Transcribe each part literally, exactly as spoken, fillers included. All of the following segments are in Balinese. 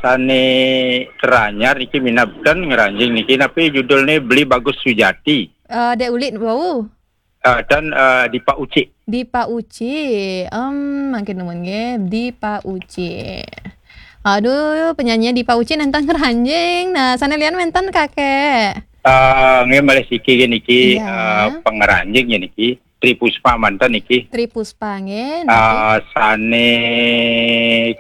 Sane teranyar niki minab ten ngranjing niki, napi judulne? Beli Bagus Sujati. Eh, Dek Ulit wau. Eh, ten, eh, Dipa Uci. Dipa Uci. Em, mangkin nuwun nggih, Dipa Uci. Aduh, penyanyi Dipa Uci nenten ngranjing. Nah, sane lian wenten, Kakek? Eh, nggih, malih siki nggih niki, iya, eh, pengranjing nggih niki. Tri Puspa manten niki. Tri Puspa nggih, niki. Eh, sane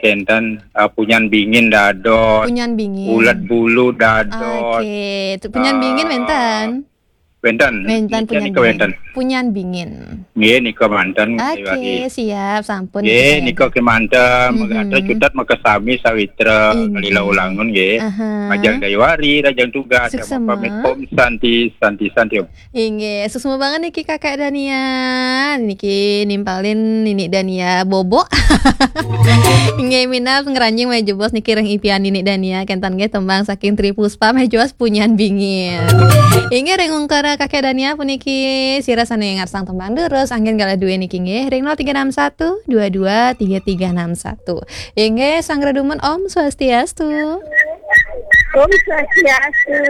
kenten, eh, Punyan Bingin dados. Punyan Bingin. Ulet Bulu dados. Oke, tu Punyan Bingin, eh, wenten? Wenten. Wenten. Punyan Bingin. Punyan Bingin. Nggih, nika manten, Dayuari. Oke, siap, sampun. Nggih, nika kemanten, mhm, megatra cutet makasami sawitra, inggih, kalila ulangun nggih. Aha. Majeng Dayuari, rajang tugas, suksma. Pamit, Om Santi, Santi, Santi, Om. Inggih, suksma banget niki Kakek Dania. Niki nimpalin Nini Dania bobok. Inggih, minab ngranjing malih jebos niki ring ipian Nini Dania, kenten nggih tembang saking Tri Puspa malih jebos Punyan Bingin. Inggih, ring ungkara Kakek Dania puniki sira sane ngarsang tembang durus, anggen galah duwe niki nggih ring nol tiga enam satu dua dua tiga tiga enam satu. Inggih, Sang Redumun, Om Swastiastu. Om Swastiastu.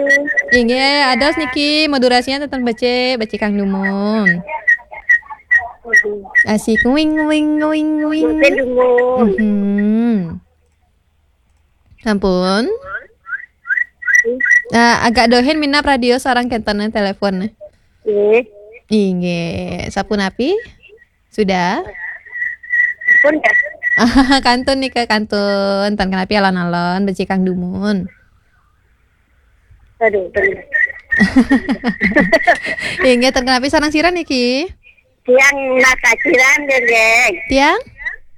Inggih, ados niki modulasinya tenten becik, becik kang dumun. Asik, wing, wing, wing, wing. Mboten dumun. Mhm. Ampun. Eh, agak dohin minab radio sareng kenten telepon. Nggih. Inggih, sapunapi? Sudah? Pun ya. Kantun nika, kantun. Tan kenapi alon-alon, becik kang dumun. Aduh, bener. Inggih, tan kenapi sareng sira niki? Tiang Mbah Kaciran, Dendeng. Tiang?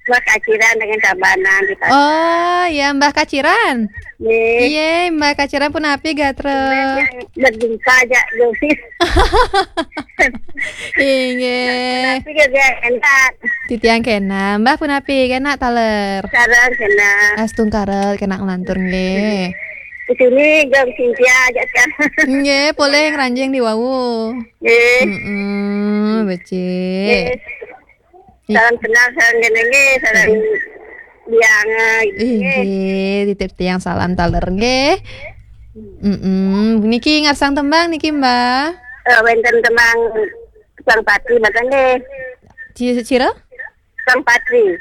Mbah Kaciran dengan Tabanan di Pasar. Oh, ya, Mbah Kaciran. Nggih. Iya, Mbah Kaciran punapi gatra? Yang berduka aja, Yosis. Inggih. Tapi dia enak. Titiang kena, Mbah punapi kena taler? Sareng kena. Astungkara kena nglantur nggih. Di sini jam Cynthia aja kan. Nggih, polih ngranjing di wau. Nggih. Mm-mm, becik. Nggih. Salam kenal, salam kenal nggih, salam biang, eh, nggih. Inggih, titip tiang salam taler nggih. Mm-mm. Niki ngarsang tembang niki, Mbah? Eh, wenten tembang Tukang Patri mboten nggih. Ci-, sira? Tukang Patri.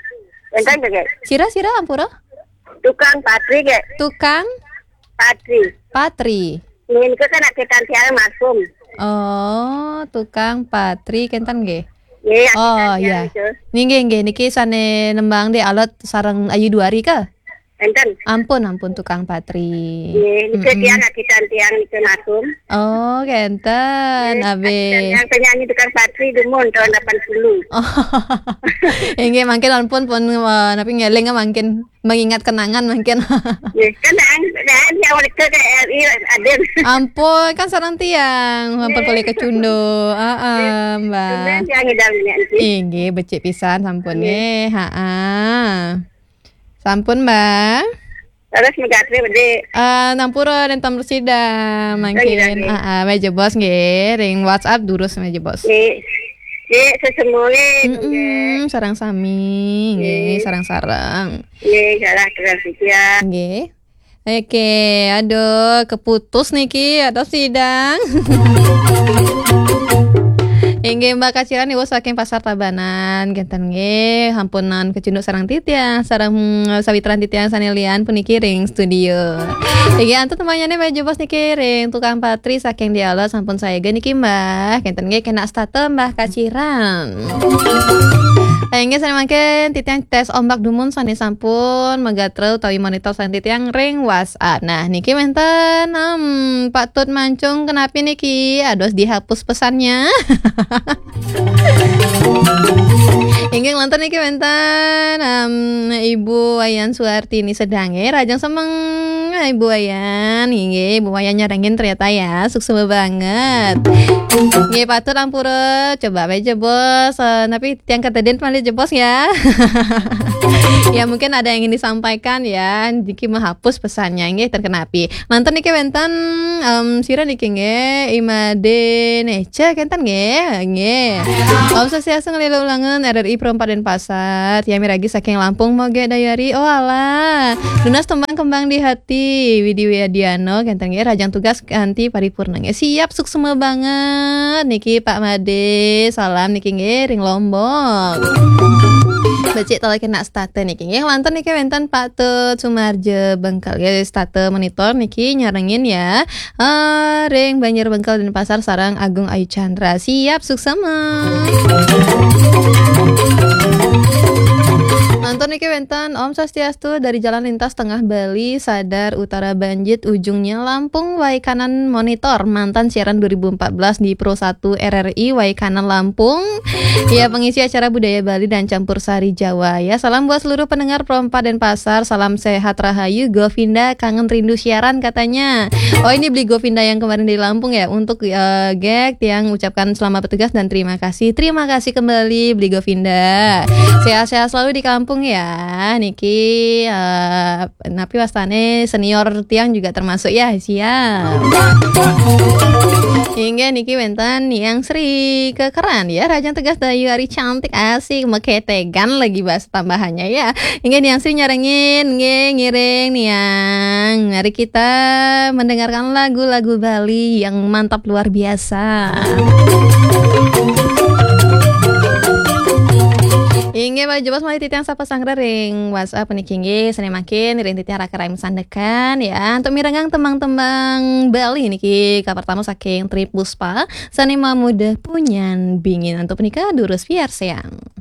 Wenten nggih? Sira, sira, ampura? Tukang Patri nggih. Tukang? Patri. Patri. Nggih, niku kan anak tiang almarhum. Oh, Tukang Patri kenten nggih. Nggih, oh, anak tiang iya. Niku. Nggih, nggih, nggih. Niki sane nembang Dek Alot sareng Ayu Duari kah? Enten. Ampun, ampun, Tukang Patri. Nggih, niku mm-mm. Tiang akitan tiang niku almarhum. Oh, kenten, nggih, abe. Akitan tiang penyanyi Tukang Patri dumun tahun delapan puluh. Oh. Inggih, mangkin ampun pun, eh, napi ngeling mangkin. Mengingat kenangan mungkin. Nggih, kan daan, daan yang mereka ke R I Raden. Ampun, kan sareng tiang, ampun nggih. Polih kecunduk. Heeh, Mbah. Nggih, tiang ngidam niki. Inggih, becik pisan sampun nggih. Nggih. Heeh. Sampun, Mbah. Terus megatri, Dek. Eh, nampura nenten sida mangkin. Nggih, nggih. Heeh, malih jebos nggih, ring WhatsApp durus malih jebos. Nggih. Nggih, sesemua nggih. Mm-mm, sareng sami, nggih, nggih. Sareng-sareng. Nggih, salah terus ya. Nggih. Oke, aduh, keputus niki, aduh sidang. Inggih, Mbah Kaciran niku saking Pasar Tabanan, kenten nggih, ampunan kecunduk sareng titiang, sareng, mm, sawitran titiang sane lian puniki ring studio. Inggih, antuk temanyane malih jebos niki ring Tukang Patri saking Dialog sampun saega niki, Mbah. Kenten nggih kena start Mbah Kaciran. Inggih sane mangkin titiang tes ombak dumun sane sampun magatra utawi monitor sane titiang ring WhatsApp. Nah, niki wenten, em, Pak Tut Mancung kenapi niki? Aduh, dihapus pesannya. Inggih lantur niki wenten, em, Ibu Wayan Suartini sedang nggih, rajang semeng. Ibu Wayan, inggih, Ibu Wayan nyarengin ternyata ya, suksma banget. Nggih, patut ampura, coba wae jebos, eh, tapi tiang katedin malih jebos ya. Ya, mungkin ada yang ingin disampaikan ya, niki menghapus pesannya, nggih, ten kenapi. Lantur niki wenten, em, sira niki nggih, I Made Nece kenten nggih, nggih. Om Swastiastu, ngleluk langenan R R I Pro empat Denpasar, tiang miragi saking Lampung Moge Dayari, oh alah. Nunas tembang Kembang di Hati, Widi Wiadiano, kenten nggih, rahajeng tugas kanti paripurna nggih. Siap, suksma banget. Niki Pak Made, salam niki nggih, ring Lombok. Becik tolong kena starte niki nggih. Lantur niki wenten Pak Tut Sumarjo Bengkel nggih, starte monitor niki nyarengin ya. Eh, ring Banjar Bengkel Denpasar sareng Agung Ayu Chandra. Siap, suksma. Lantur niki wenten Om Swastiastu dari Jalan Lintas Tengah Bali, Sadar Utara Banjit, ujungnya Lampung, Waikanan monitor mantan siaran dua ribu empat belas di Pro satu R R I Waikanan Lampung. Ya, pengisi acara budaya Bali dan campur sari Jawa. Ya, salam buat seluruh pendengar Pro empat Denpasar. Salam sehat rahayu, Govinda kangen rindu siaran katanya. Oh, ini beli Govinda yang kemarin di Lampung ya. Untuk, eh, Gek, tiang ucapkan selamat bertugas dan terima kasih. Terima kasih kembali beli Govinda. Sehat-sehat selalu di kampung ya. Niki, eh, napi wastane senior tiang juga termasuk ya, siap. Hingga niki wenten Niang Sri Kekeran ya, rahajeng tugas Dayu Ari cantik asik, meketegan lagi bahasa tambahannya ya. Hingga Niang Sri nyarengin, nggih, ngiring Niang. Mari kita mendengarkan lagu-lagu Bali yang mantap luar biasa. Inggih, Pak Jebos malih titiang sapa sanggra ring WhatsApp niki inggih, sane mangkin ring titiang raka rai masandekan ya. Untuk mirengang tembang-tembang Bali niki kapertama saking Tri Puspa, sane mamuda Punyan Bingin. Untuk punika durus piarsayang.